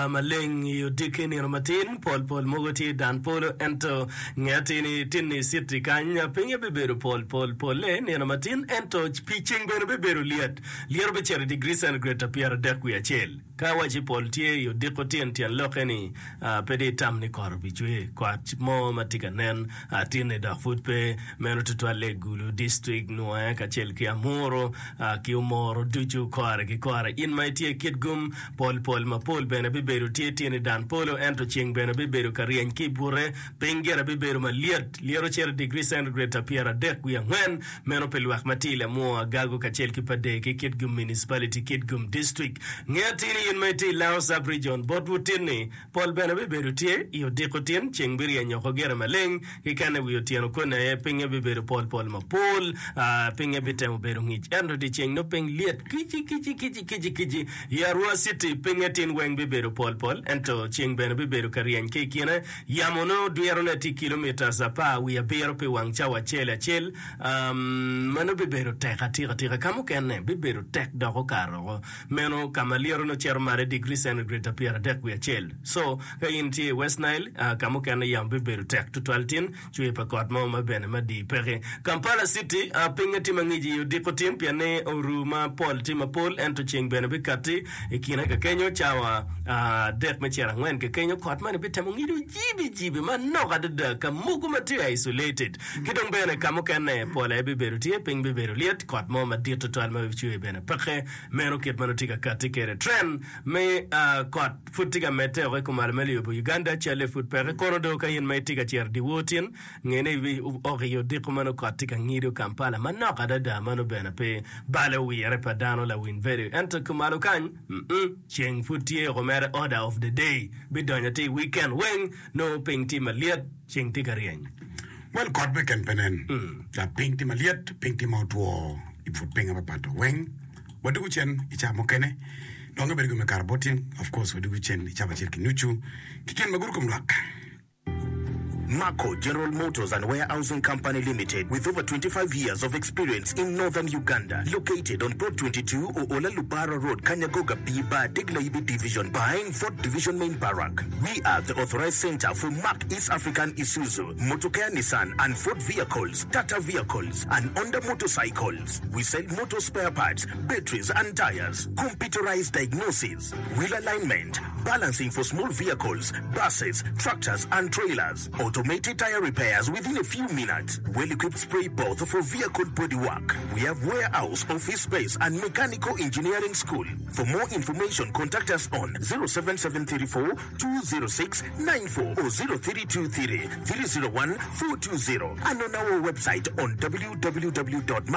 Maleng i odiki nino matin, pol pol mogo tye i dan polo, ento nge atir ni tinni citi kany pinye bibedo pol pol polle nino matin, ento pi ceng bene bibedo lyet. Lyeto bicito i digri centigrade pyeradek wiye acel. Ka awaci pol tye i odiko tin, tyen lokke ni pe dong itam ni kot obicwer. Kot mo ma tye ka nen tinni dok pud pe. Meno tutwalle i Gulu District, Nwoya kacel ki Amuru ki Omoro ducu kore ki kore. In ma itye i Kitgum, pol pol mapol bene bibedo tye tin i dan polo, ento ceng bene bibedo ka ryeny ki i bute. Piny gire bibedo malyet, lyeto cito i digri centigrade 34. Meno pi lwak ma tye i Lamwo, Agago kacel ki Padee ki Kitgum Municipality, Kitgum District. Nge atir ni in ma itye i Lango Sub-Region, botwu tin-ni, pol bene bibedo tye i odiko tin, ceng biryeny oko gire maleng, ki kene wi otyeno koni aye pinye bibedo pol pol mapol, pinye bitemo bedo ngic ento dyeceng nongo piny lyet kici kici kici kici kici. I Arua City pinye tin weng bibedo pol pol ento ceng bene bibedo ka ryeny ki i kine. Yamo nongo dwirone tye kilomitas apar wiye abiro pi wang cawa acel acel. Meno bibedo tek atika tika. Ka mukene bibedo tek dok okato woko. Meno ka ma lyeto nongo cito malo i digri centigrade pyeradek wiye acel. So, ka in itye i West Nile, ka mukene yamo bibedo tek tutwal tin, cwer pa kot mo ma bene madii peke. Kampala City, pinye tye mangic i odiko tin pien ni oru ma pol tye mapol ento ceng bene bikatti i kine kakenyo cawa adek me cito angwen kakenyo kot moni bitemo ngido jibi jibi manok adada ka mogo ma tye isolated ki dong bene ka mukene pol aye bibedo tye piny bibedo lyet kot mo madit tutwal ma bicwer bene peke meno kit ma nongo tye ka katti kwede trend me kot pud tye ka medde woko i kumalo me lobo Uganda calle pud peke kono do ka in ma itye ka cito dyewor tin Nge ni ibiok i odiko ma nongo kot tye ka ngido Kampala manok adada ma nongo bene pe balo wire pa dano lawiny vedio. Ento kumalo kany, mm, ceng pud tye oko mere order of the day bidonyo atir i weekend weng nongo piny tye malyet, ceng tye ka ryeny. Well kot beken pe nen. Dok piny tye malyet, piny tye ma otwo i but piny mapat weng. Wadwogo cen i cawa mukene. Dong ibedo gin me kato bot in. Of course wadwogo cen i cawa acel ki nucu ki gin ma gudo kom lwak. Marco General Motors and Warehousing Company Limited with over 25 years of experience in Northern Uganda located on Plot 22 Oola Lubara Road Kanyagoga B Bar Degla-Ibi Division behind Fort Division Main Barrack. We are the authorized center for Mack East African Isuzu, Motokea Nissan and Ford vehicles, Tata vehicles and Honda motorcycles. We sell motor spare parts, batteries and tires, computerized diagnosis, wheel alignment, balancing for small vehicles, buses, tractors and trailers, automated tire repairs within a few minutes, well-equipped spray booth for vehicle body work. We have warehouse, office space and mechanical engineering school. For more information contact us on 07734 206 94 or 0323 301 420 and on our website on www.marco.ug.